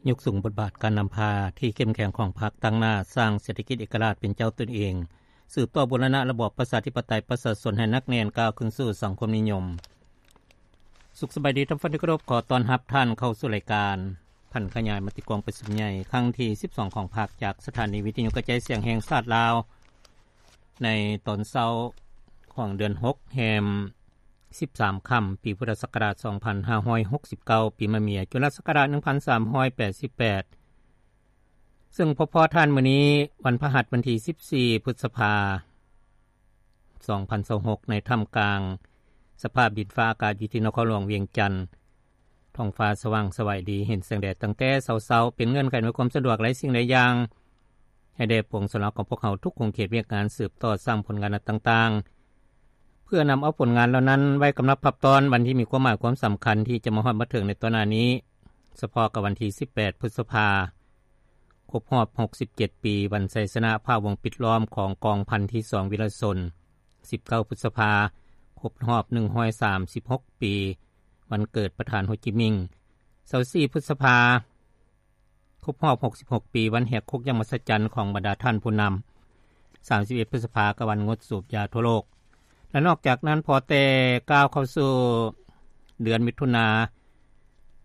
ຍົກສູງບົດບາດການນຳພາທີ່ເຂັ້ມແຂງຂອງພັກ, ຕັ້ງໜ້າສ້າງເສດຖະກິດເອກະລາດເປັນເຈົ້າຕົນເອງ, ສືບຕໍ່ບູລະນະລະບອບປະຊາທິປະໄຕປະຊາຊົນໃຫ້ໜັກແໜ້ນ, ກ້າວຂຶ້ນສູ່ສັງຄົມນິຍົມ. ສຸກສະບາຍດີທ່ານຜູ້ຟັງທີ່ເຄົາລົບ, ຂໍຕ້ອນຮັບທ່ານເຂົ້າສູ່ລາຍການຜັນຂະຫຍາຍມະຕິກອງປະຊຸມໃຫຍ່ຄັ້ງທີສິບສອງຂອງພັກ ຈາກສະຖານີວິທະຍຸກະຈາຍສຽງແຫ່ງຊາດລາວ ໃນຕອນເຊົ້າຂອງເດືອນຫົກ ແຮມສິບສາມຄ່ຳ ປີພຸດທະສັກກະລາດສອງພັນຫ້າຮ້ອຍຫົກສິບເກົ້າ ປີມະເມຍ ຈຸລະສັກກະລາດໜຶ່ງພັນສາມຮ້ອຍແປດສິບແປດ ເຊິ່ງພົບພໍ້ທ່ານມື້ນີ້ ວັນພະຫັດ ວັນທີສິບສີ່ ພຶດສະພາ ສອງພັນຊາວຫົກ ໃນທ່າມກາງສະພາບດິນຟ້າອາກາດຢູ່ທີ່ນະຄອນຫຼວງວຽງຈັນ. ທ້ອງຟ້າສະຫວ່າງສະໄຫວດີ, ເຫັນແສງແດດຕັ້ງແຕ່ເຊົ້າໆ, ເປັນເງື່ອນໄຂອຳນວຍຄວາມສະດວກຫຼາຍສິ່ງຫຼາຍຢ່າງ ໃຫ້ແດ່ປວງຊົນລາວຂອງພວກເຮົາທຸກຂົງເຂດວຽກງານ ສືບຕໍ່ສ້າງຜົນງານອັນຕ່າງໆ ເພື່ອນຳເອົາຜົນງານເຫຼົ່ານັ້ນໄວ້ກຳລັບພັບຕ້ອນວັນທີ່ມີຄວາມໝາຍຄວາມສຳຄັນທີ່ຈະມາຮອດມາເຖິງໃນຕໍ່ໜ້ານີ້. ສະເພາະກັບວັນທີສິບແປດ ພຶດສະພາ ຄົບຮອບຫົກສິບເຈັດປີ ວັນໄຊຊະນະພາວົງປິດລ້ອມຂອງກອງພັນທີສອງວິລະຊົນ, ສິບເກົ້າ ພຶດສະພາ ຄົບຮອບໜຶ່ງຮ້ອຍສາມສິບຫົກປີ ວັນເກີດປະທານໂຮຈິມິງ, ຊາວສີ່ ພຶດສະພາ ຄົບຮອບຫົກສິບຫົກປີ ວັນແຫກຄຸກຢ່າງມະຫັດສະຈັນຂອງບັນດາທ່ານຜູ້ນຳ, ສາມສິບເອັດ ພຶດສະພາ ກະວັນງົດສູບຢາທົ່ວໂລກ. ແລະ ນອກຈາກນັ້ນ ພໍແຕ່ກ້າວເຂົ້າສູ່ເດືອນມິຖຸນາ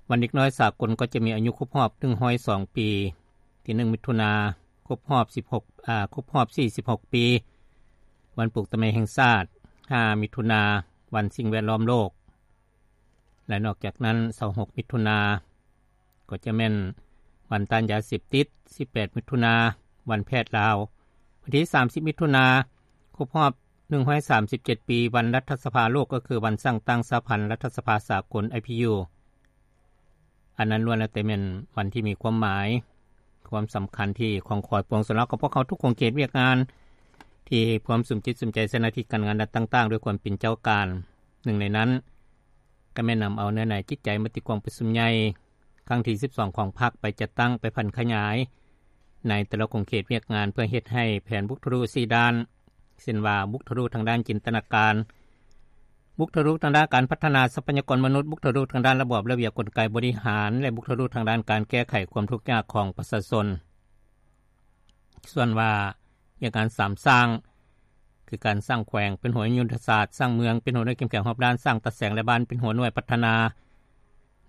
ວັນເດັກນ້ອຍສາກົນກໍຈະມີອາຍຸຄົບຮອບໜຶ່ງຮ້ອຍສອງປີ, ທີໜຶ່ງ ມິຖຸນາ ຄົບຮອບສິບຫົກ ອາ ຄົບຮອບສີ່ສິບຫົກປີ, ວັນປູກຕົ້ນໄມ້ແຫ່ງຊາດ, ຫ້າ ມິຖຸນາ ວັນສິ່ງແວດລ້ອມໂລກ. ແລະ ນອກຈາກນັ້ນ ຊາວຫົກ ມິຖຸນາ ກໍຈະແມ່ນວັນຕ້ານຢາເສບຕິດ, ສິບແປດ ມິຖຸນາ ວັນແພດລາວ, ວັນທີສາມສິບ ມິຖຸນາ ຄົບຮອບໜຶ່ງຮ້ອຍສາມສິບເຈັດປີ ວັນລັດຖະສະພາໂລກ, ກໍຄືວັນສ້າງຕັ້ງສະຫະພັນລັດຖະສະພາສາກົນ ໄອພີຢູ. ອັນນັ້ນລ້ວນແລ້ວແຕ່ແມ່ນວັນທີ່ມີຄວາມໝາຍ, ຄວາມສຳຄັນທີ່ຂອງຂອຍປວງຊົນລາວຂອງພວກເຮົາທຸກຂົງເຂດວຽກງານ ທີ່ພວມສຸມຈິດສຸມໃຈໃສ່ໜ້າທີ່ການງານດ້ານຕ່າງໆ ດ້ວຍຄວາມເປັນເຈົ້າການ. ໜຶ່ງໃນນັ້ນ ກໍແມ່ນນຳເອົາເນື້ອໃນຈິດໃຈມະຕິກອງປະຊຸມໃຫຍ່ຄັ້ງທີສິບສອງຂອງພັກ ໄປຈັດຕັ້ງ, ໄປຜັນຂະຫຍາຍໃນແຕ່ລະຂົງເຂດວຽກງານ ເພື່ອເຮັດໃຫ້ແຜນບຸກທະລຸສີ່ດ້ານ, ເຊັ່ນວ່າ ບຸກທະລຸທາງດ້ານຈິນຕະນາການ, ບຸກທະລຸທາງດ້ານການພັດທະນາຊັບພະຍາກອນມະນຸດ, ບຸກທະລຸທາງດ້ານລະບອບລະບຽບກົນໄກບໍລິຫານ ແລະ ບຸກທະລຸທາງດ້ານການແກ້ໄຂຄວາມທຸກຍາກຂອງປະຊາຊົນ. ສ່ວນວ່າວຽກງານສາມສ້າງ ຄືການສ້າງແຂວງເປັນຫົວໜ່ວຍຍຸດທະສາດ, ສ້າງເມືອງເປັນຫົວໜ່ວຍເຂັ້ມແຂງຮອບດ້ານ, ສ້າງຕາແສງ ແລະ ບ້ານເປັນຫົວໜ່ວຍພັດທະນາ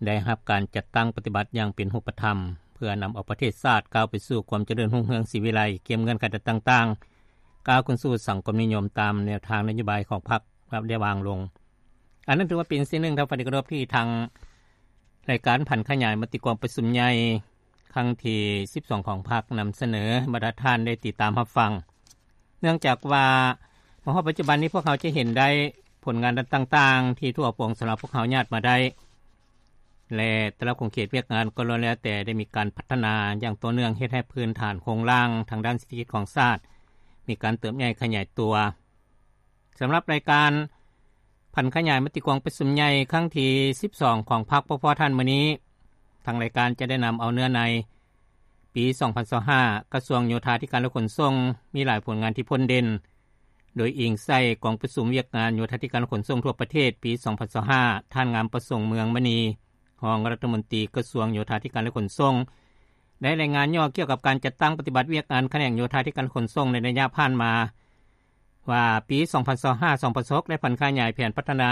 ໄດ້ຮັບການຈັດຕັ້ງປະຕິບັດຢ່າງເປັນຮູບປະທຳ ເພື່ອນຳເອົາປະເທດຊາດກ້າວໄປສູ່ຄວາມຈະເລີນຮຸ່ງເຮືອງສີວິໄລ ກຽມເງື່ອນໄຂຕ່າງໆ ກ້າວຂຶ້ນສູ່ສັງຄົມນິຍົມຕາມແນວທາງນະໂຍບາຍຂອງພັກໄດ້ວາງລົງ. ອັນນັ້ນຖືວ່າເປັນສິ່ງໜຶ່ງ ທ່ານຜູ້ຟັງທີ່ເຄົາລົບ ທີ່ທາງລາຍການຜັນຂະຫຍາຍມະຕິກອງປະຊຸມໃຫຍ່ຄັ້ງທີສິບສອງຂອງພັກນຳສະເໜີບັນດາທ່ານໄດ້ຕິດຕາມຮັບຟັງ. ເນື່ອງຈາກວ່າມາຮອດປັດຈຸບັນນີ້ ພວກເຮົາຈະເຫັນໄດ້ຜົນງານດ້ານຕ່າງໆ ທີ່ທົ່ວປວງຊົນລາວພວກເຮົາຍາດມາໄດ້ ແລະ ແຕ່ລະຂົງເຂດວຽກງານກໍລ້ວນແລ້ວແຕ່ໄດ້ມີການພັດທະນາຢ່າງຕໍ່ເນື່ອງ ເຮັດໃຫ້ພື້ນຖານໂຄງລ່າງທາງດ້ານເສດຖະກິດຂອງຊາດມີການເຕີບໃຫຍ່ຂະຫຍາຍຕົວ. ສຳລັບລາຍການຜັນຂະຫຍາຍມະຕິກອງປະຊຸມໃຫຍ່ຄັ້ງທີສິບສອງຂອງພັກ ພວກເຮົາທ່ານມື້ນີ້ ທາງລາຍການຈະໄດ້ນຳເອົາເນື້ອໃນ ປີສອງພັນຊາວຫ້າ ກະຊວງໂຍທາທິການ ແລະ ຂົນສົ່ງ ມີຫຼາຍຜົນງານທີ່ພົ້ນເດັ່ນ ໂດຍອີງໃສ່ກອງປະຊຸມວຽກງານໂຍທາທິການ ແລະ ຂົນສົ່ງທົ່ວປະເທດ ປີສອງພັນຊາວຫ້າ ທ່ານ ງາມປະສົງ ເມືອງມະນີ ຮອງລັດຖະມົນຕີກະຊວງໂຍທາທິການ ແລະ ຂົນສົ່ງ ໄດ້ລາຍງານຫຍໍ້ກ່ຽວກັບການຈັດຕັ້ງປະຕິບັດວຽກງານຂະແໜງໂຍທາທິການ ແລະ ຂົນສົ່ງ ໃນໄລຍະຜ່ານມາ ວ່າ ປີສອງພັນຊາວຫ້າ ສອງພັນຊາວຫົກ ໄດ້ຜັນຂະຫຍາຍແຜນພັດທະນາ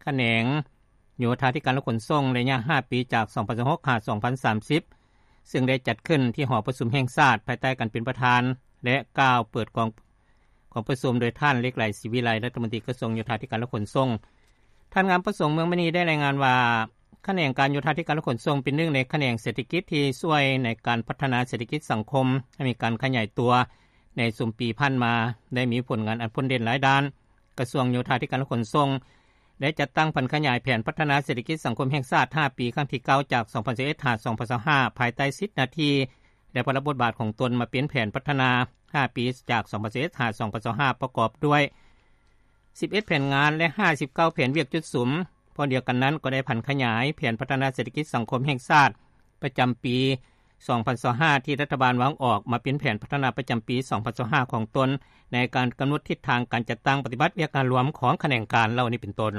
ຂະແໜງໂຍທາທິການ ແລະ ຂົນສົ່ງ ໄລຍະຫ້າປີ ຈາກ ສອງພັນຊາວຫົກ ຫາ ສອງພັນສາມສິບ ເຊິ່ງໄດ້ຈັດຂຶ້ນທີ່ຫໍປະຊຸມແຫ່ງຊາດ ພາຍໃຕ້ການເປັນປະທານ ແລະ ກ່າວເປີດກອງ ກອງປະຊຸມໂດຍທ່ານ ເລກໄລ ສີວິໄລ ລັດຖະມົນຕີກະຊວງໂຍທາທິການ ແລະ ຂົນສົ່ງ. ທ່ານ ງາມປະສົງ ເມືອງມະນີ ໄດ້ລາຍງານວ່າ ຂະແໜງການໂຍທາທິການ ແລະ ຂົນສົ່ງ ເປັນໜຶ່ງໃນຂະແໜງເສດຖະກິດທີ່ຊ່ວຍໃນການພັດທະນາເສດຖະກິດສັງຄົມໃຫ້ມີການຂະຫຍາຍຕົວໃນຊຸມປີຜ່ານມາ ໄດ້ມີຜົນງານອັນພົ້ນເດັ່ນຫຼາຍດ້ານ. ກະຊວງໂຍທາທິການ ແລະ ຂົນສົ່ງ ໄດ້ຈັດຕັ້ງຜັນຂະຫຍາຍແຜນພັດທະນາເສດຖະກິດສັງຄົມແຫ່ງຊາດ ຫ້າປີ ຄັ້ງທີເກົ້າ ຈາກ ສອງພັນຊາວເອັດ ຫາ ສອງພັນຊາວຫ້າ ພາຍໃຕ້ສິດໜ້າທີ່ ແລະ ພາລະບົດບາດຂອງຕົນ ມາເປັນແຜນພັດທະນາຫ້າປີ ຈາກ ສອງພັນຊາວເອັດ ຫາ ສອງພັນຊາວຫ້າ ປະກອບດ້ວຍສິບເອັດແຜນງານ ແລະ ຫ້າສິບເກົ້າແຜນວຽກຈຸດສຸມ. ພ້ອມດຽວກັນນັ້ນ ກໍໄດ້ຜັນຂະຫຍາຍແຜນພັດທະນາເສດຖະກິດສັງຄົມແຫ່ງຊາດປະຈຳປີສອງພັນຊາວຫ້າ ທີ່ລັດຖະບານວາງອອກ ມາເປັນແຜນພັດທະນາປະຈຳປີສອງພັນຊາວຫ້າຂອງຕົນ ໃນການກຳນົດທິດທາງການຈັດຕັ້ງປະຕິບັດວຽກງານລວມຂອງຂະແໜງການເຫຼົ່ານີ້ເປັນຕົ້ນ.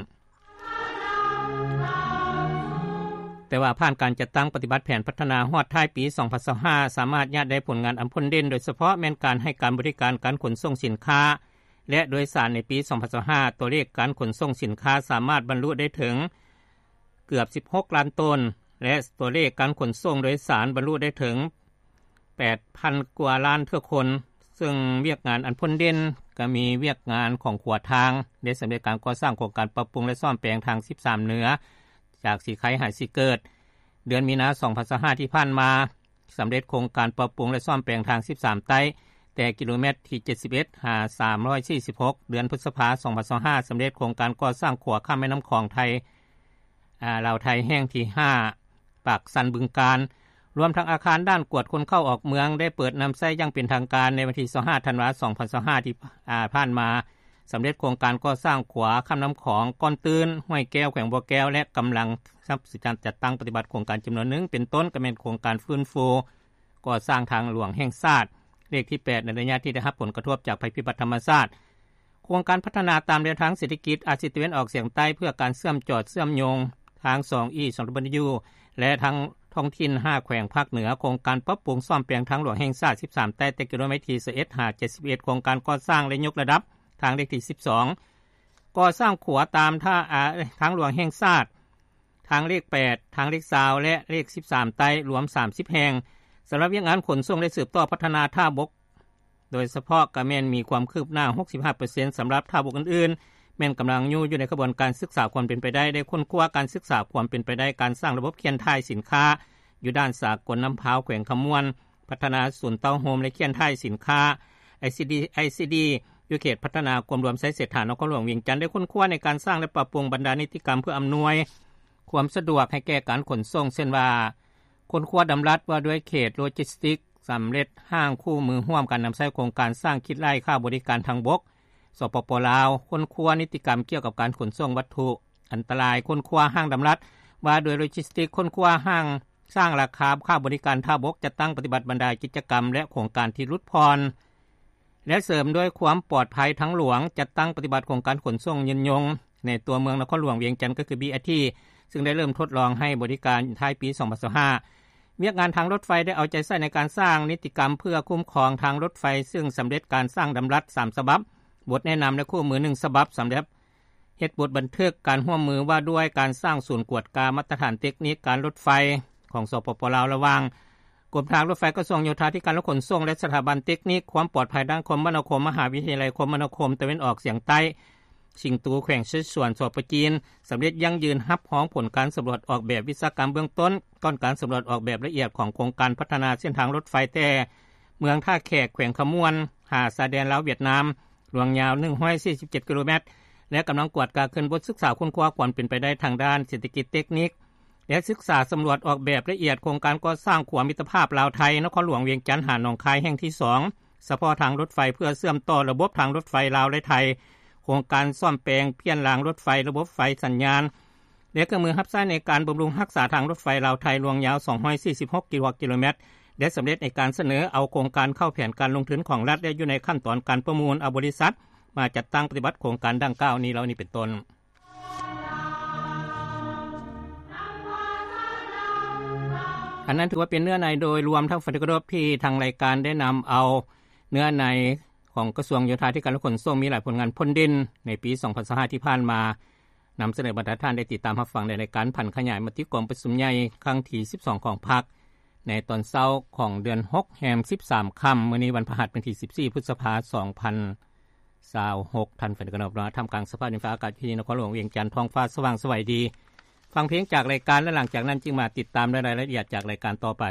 ແຕ່ວ່າຜ່ານການຈັດຕັ້ງປະຕິບັດແຜນພັດທະນາຮອດທ້າຍປີສອງພັນຊາວຫ້າ ສາມາດຍາດໄດ້ຜົນງານອັນພົ້ນເດັ່ນ ໂດຍສະເພາະແມ່ນການໃຫ້ການບໍລິການການຂົນສົ່ງສິນຄ້າ ແລະ ໂດຍສານໃນປີສອງພັນຊາວຫ້າ ຕົວເລກການຂົນສົ່ງສິນຄ້າສາມາດບັນລຸໄດ້ເຖິງເກືອບສິບຫົກລ້ານໂຕນ ແລະ ຕົວເລກການຂົນສົ່ງໂດຍສານບັນລຸໄດ້ເຖິງ ແປດພັນກວ່າລ້ານເທື່ອຄົນ, ເຊິ່ງວຽກງານອັນພົ້ນເດັ່ນກໍມີວຽກງານຂອງຂົວທາງ ໄດ້ສຳເລັດການກໍ່ສ້າງໂຄງການປັບປຸງ ແລະ ສ້ອມແປງທາງສິບສາມເໜືອ ຈາກສີໄຄຫາສີເກີດ. ເດືອນມີນາ ສອງພັນຊາວຫ້າ ທີ່ຜ່ານມາ ສຳເລັດໂຄງການປັບປຸງ ແລະ ສ້ອມແປງທາງສິບສາມໃຕ້ ແຕ່ກິໂລແມັດທີເຈັດສິບເອັດ ຫາ ສາມຮ້ອຍສີ່ສິບຫົກ. ເດືອນພຶດສະພາ ສອງພັນຊາວຫ້າ ສຳເລັດໂຄງການກໍ່ສ້າງຂົວຂ້າມແມ່ນ້ຳຂອງໄທ ອາ ລາວໄທແຫ່ງທີຫ້າ ປາກຊັນ ບຶງການ, ລວມທັງອາຄານດ່ານກວດຄົນເຂົ້າອອກເມືອງ ໄດ້ເປີດນຳໃຊ້ຢ່າງເປັນທາງການໃນວັນທີຊາວຫ້າ ທັນວາ ສອງພັນຊາວຫ້າ ທີ່ ອາ ຜ່ານມາ, ສຳເລັດໂຄງການກໍ່ສ້າງຂົວຂ້າມນ້ຳຂອງ ກ້ອນຕື້ນ ຫ້ວຍແກ້ວ ແຂວງບໍ່ແກ້ວ ແລະ ກຳລັງຈັດຕັ້ງປະຕິບັດໂຄງການຈຳນວນໜຶ່ງ ເປັນຕົ້ນກໍແມ່ນໂຄງການຟື້ນຟູກໍ່ສ້າງທາງຫຼວງແຫ່ງຊາດ ເລກທີແປດ ໃນໄລຍະທີ່ໄດ້ຮັບຜົນກະທົບຈາກໄພພິບັດທຳມະຊາດ. ໂຄງການພັດທະນາຕາມແນວທາງເສດຖະກິດອາຊີຕາເວັນອອກສຽງໃຕ້ ເພື່ອການເຊື່ອມຈອດເຊື່ອມໂຍງທາງສອງອີ ສອງ W ແລະ ທາງທ້ອງຖິ່ນຫ້າແຂວງພາກເໜືອ, ໂຄງການປັບປຸງສ້ອມແປງທາງຫຼວງແຫ່ງຊາດສິບສາມໃຕ້ ແຕ່ກິໂລແມັດທີຊາວເອັດ ຫາ ເຈັດສິບເອັດ, ໂຄງການກໍ່ສ້າງ ແລະ ຍົກລະດັບທາງເລກທີສິບສອງ, ກໍ່ສ້າງຂົວຕາມທ່າ ອາ ທາງຫຼວງແຫ່ງຊາດ ທາງເລກແປດ, ທາງເລກຊາວ ແລະ ເລກສິບສາມໃຕ້ ລວມສາມສິບແຫ່ງ. ສຳລັບວຽກງານຂົນສົ່ງ ແລະ ສືບຕໍ່ພັດທະນາທ່າບົກ ໂດຍສະເພາະກະແມ່ນມີຄວາມຄືບໜ້າຫົກສິບຫ້າເປີເຊັນ ສຳລັບທ່າບົກອື່ນໆ ແມ່ນກຳລັງຢູ່ ຢູ່ໃນຂະບວນການສຶກສາຄວາມເປັນໄປໄດ້ ແລະ ຄົ້ນຄວ້າການສຶກສາຄວາມເປັນໄປໄດ້ ການສ້າງລະບົບເຄຍນຖ່າຍສິນຄ້າ ຢູ່ດ່ານສາກົນນ້ຳພາວ ແຂວງຄຳມ່ວນ, ພັດທະນາສູນເຕົ້າໂຮມ ແລະ ເຄຍນຖ່າຍສິນຄ້າ ໄອຊີດີ ໄອຊີດີ ຢູ່ເຂດພັດທະນາກວມລວມໄຊເສດຖາ ນະຄອນຫຼວງວຽງຈັນ ໄດ້ຄົ້ນຄວ້າໃນການສ້າງ ແລະ ປັບປຸງບັນດານິຕິກຳ ເພື່ອອຳນວຍຄວາມສະດວກໃຫ້ແກ່ການຂົນສົ່ງ ເຊັ່ນວ່າ ຄົ້ນຄວ້າດຳລັດວ່າດ້ວຍເຂດໂລຈິສຕິກ, ສຳເລັດຮ່າງຄູ່ມືຮ່ວມການນຳໃຊ້ໂຄງການສ້າງຄິດໄລ່ຄ່າບໍລິການທາງບົກ ສປປ ລາວ, ຄົ້ນຄວ້ານິຕິກຳກ່ຽວກັບການຂົນສົ່ງວັດຖຸອັນຕະລາຍ, ຄົ້ນຄວ້າຮ່າງດຳລັດວ່າດ້ວຍໂລຈິສຕິກ, ຄົ້ນຄວ້າຮ່າງສ້າງລາຄາຄ່າບໍລິການທ່າບົກ, ຈັດຕັ້ງປະຕິບັດບັນດາກິດຈະກຳ ແລະ ໂຄງການທີ່ຫຼຸດຜ່ອນ ແລະ ເສີມດ້ວຍຄວາມປອດໄພທາງຫຼວງ, ຈັດຕັ້ງປະຕິບັດໂຄງການຂົນສົ່ງຍືນຍົງໃນຕົວເມືອງນະຄອນຫຼວງວຽງຈັນ ກໍຄື ບີອາທີ ຊຶ່ງໄດ້ເລີ່ມທົດລອງໃຫ້ບໍລິການທ້າຍປີສອງພັນຊາວຫ້າ. ວຽກງານທາງລົດໄຟໄດ້ເອົາໃຈໃສ່ໃນການສ້າງນິຕິກຳເພື່ອຄຸ້ມຄອງທາງລົດໄຟ, ຊຶ່ງສຳເລັດການສ້າງດຳລັດສາມສະບັບ, ບົດແນະນຳ ແລະ ຄູ່ມືໜຶ່ງສະບັບ, ສຳລັບເຮັດບົດບັນທຶກການຮ່ວມມືວ່າດ້ວຍການສ້າງສູນກວດກາມາດຕະຖານເຕັກນິກການລົດໄຟຂອງ ສປປ ລາວ ລະຫວ່າງ ກົມທາງລົດໄຟ, ກະຊວງໂຍທາທິການ ແລະ ຂົນສົ່ງ ແລະ ສະຖາບັນເຕັກນິກຄວາມປອດໄພດ້ານຄົມມະນາຄົມ ມະຫາວິທະຍາໄລຄົມມະນາຄົມຕາເວັນອອກສຽງໃຕ້ ຊິງຕູ ແຂວງເຊສວນ ສປ ຈີນ, ສຳເລັດຢັ້ງຢືນຮັບຮອງຜົນການສຳຫຼວດອອກແບບວິສາກຳເບື້ອງຕົ້ນ ກ່ອນການສຳຫຼວດອອກແບບລະອຽດຂອງໂຄງການພັດທະນາເສັ້ນທາງລົດໄຟແຕ່ເມືອງທ່າແຂກ ແຂວງຄຳມ່ວນ ຫາຊາຍແດນລາວຫວຽດນາມ ລວງຍາວໜຶ່ງຮ້ອຍສີ່ສິບເຈັດກິໂລແມັດ ແລະ ກຳລັງກວດກາຂຶ້ນບົດສຶກສາຄົ້ນຄວ້າຄວາມເປັນໄປໄດ້ທາງດ້ານເສດຖະກິດເຕັກນິກ ແລະ ສຶກສາສຳຫຼວດອອກແບບລະອຽດໂຄງການກໍ່ສ້າງຂົວມິດຕະພາບລາວ-ໄທ ນະຄອນຫຼວງວຽງຈັນ ຫາໜອງຄາຍແຫ່ງທີສອງ ສະເພາະທາງລົດໄຟ ເພື່ອເຊື່ອມຕໍ່ລະບົບທາງລົດໄຟລາວ ແລະ ໄທ, ໂຄງການສ້ອມແປງປ່ຽນລາງລົດໄຟ, ລະບົບໄຟສັນຍານ ແລະ ເຄື່ອງມືຮັບໃຊ້ໃນການບຳລຸງຮັກສາທາງລົດໄຟລາວ-ໄທ ລວງຍາວສອງຮ້ອຍສີ່ສິບຫົກກິໂລແມັດ ແລະ ສຳເລັດໃນການສະເໜີເອົາໂຄງການເຂົ້າແຜນການລົງທຶນຂອງລັດ ແລະ ຢູ່ໃນຂັ້ນຕອນການປະມູນເອົາບໍລິສັດມາຈັດຕັ້ງປະຕິບັດໂຄງການດັ່ງກ່າວນີ້ ເຫຼົ່ານີ້ເປັນຕົ້ນ. ອັນນັ້ນຖືວ່າເປັນເນື້ອໃນໂດຍລວມທັງ ທີ່ທາງລາຍການໄດ້ນຳເອົາເນື້ອໃນຂອງກະຊວງໂຍທາທິການ ແລະ ຂົນສົ່ງ ມີຫຼາຍຜົນງານພົ້ນເດັ່ນໃນປີສອງພັນຊາວຫ້າທີ່ຜ່ານມາ ນຳສະເໜີບັນດາທ່ານໄດ້ຕິດຕາມຮັບຟັງໃນລາຍການຜັນຂະຫຍາຍມະຕິກອງປະຊຸມໃຫຍ່ຄັ້ງທີສິບສອງຂອງພັກ ໃນຕອນເຊົ້າຂອງເດືອນຫົກແຮມສິບສາມຄ່ຳ, ມື້ນີ້ວັນພະຫັດ ວັນທີສິບສີ່ ພຶດສະພາ ສອງພັນຊາວຫົກ ທ່ານແຟນກະນອບເນາະ. ທ່າມກາງສະພາບດິນຟ້າອາກາດທີ່ນະຄອນຫຼວງວຽງຈັນ ທ້ອງຟ້າສະຫວ່າງສະໄຫວດີ. ຟັງເພງຈາກລາຍການ ແລະ ຫຼັງຈາກນັ້ນຈຶ່ງມາຕິດຕາມລາຍລະອຽດຈາກລາຍການຕໍ່ໄປ.